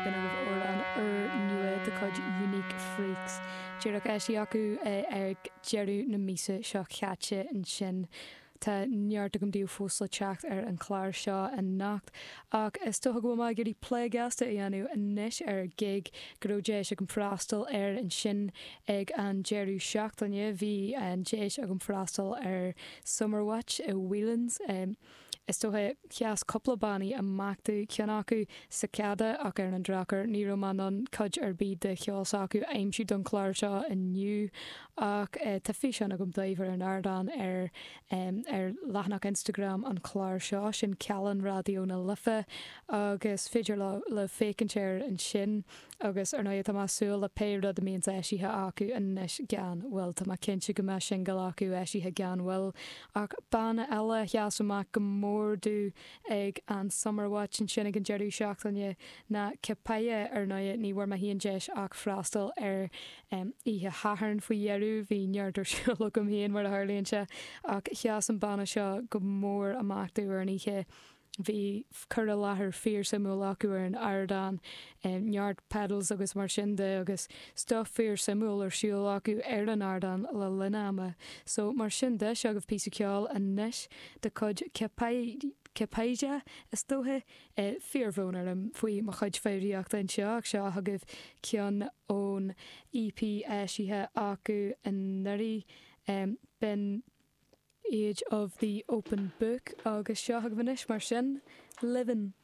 B'in agaibh amhrán úrnua de chuid Unique Freaks. Díreach eisithe acu ag deireadh na míosa seo chaite ansin. Tá neart agam daoibh fós le teacht ar an chlár seo anocht, ach is dócha go bhfuil mé ag iarraidh plé gasta a dhéanamh anois ar ghig go raibh deis agam freastal air ansin ag an deireadh seachtaine. Bhí an deis agam freastal ar Summerwatch i Whelan's. Is dócha, sheas cúpla bannaí amach domh, ceann acu, Cicada, ach ar an drochuair ní raibh mé in ann cuid ar bith de cheol s'acu a aimsiú don chlár seo inniu. Ach tá físeán agam daoibh ar an ardán ar ar leathanach Instagram an chláir seo, sin Callán Raidió na Life, agus féidir libh féachaint air ansin. Agus ar ndóigh tá mé ag súil le pé rud a mbíonns eisithe acu anois gan mhoill. Tá mé cinnte go mbeidh singil acu eisithe gan mhoill. Ach banna eile a sheas amach go mór domh ag an Summerwatch ansin ag an deireadh seachtaine ná Cipeya. Ar ndóigh ní bhfuair mé féin deis ach freastal ar oíche Shathairn faoi dheireadh, bhí neart ar siúl agam féin mar a tharlaíonn sé, ach sheas an banna seo go mór amach domh ar an oíche. Bhí cur i láthair fíor-suimiúil acu ar an ardán, neart pedals agus mar sin de agus stuff fíor-suimiúil ar siúl acu ar an ardán le linn ama. So mar sin de, seo agaibh píosa ceoil anois de chuid Cipeya, is dóiche. Fíor-bhrón orm faoi mo chuid foghraíochta anseo ach seo chugaibh ceann ón EP eisithe acu anuraidh. B'in. Age of the Open Book agus seo chugaibh anois mar sin, Livin'.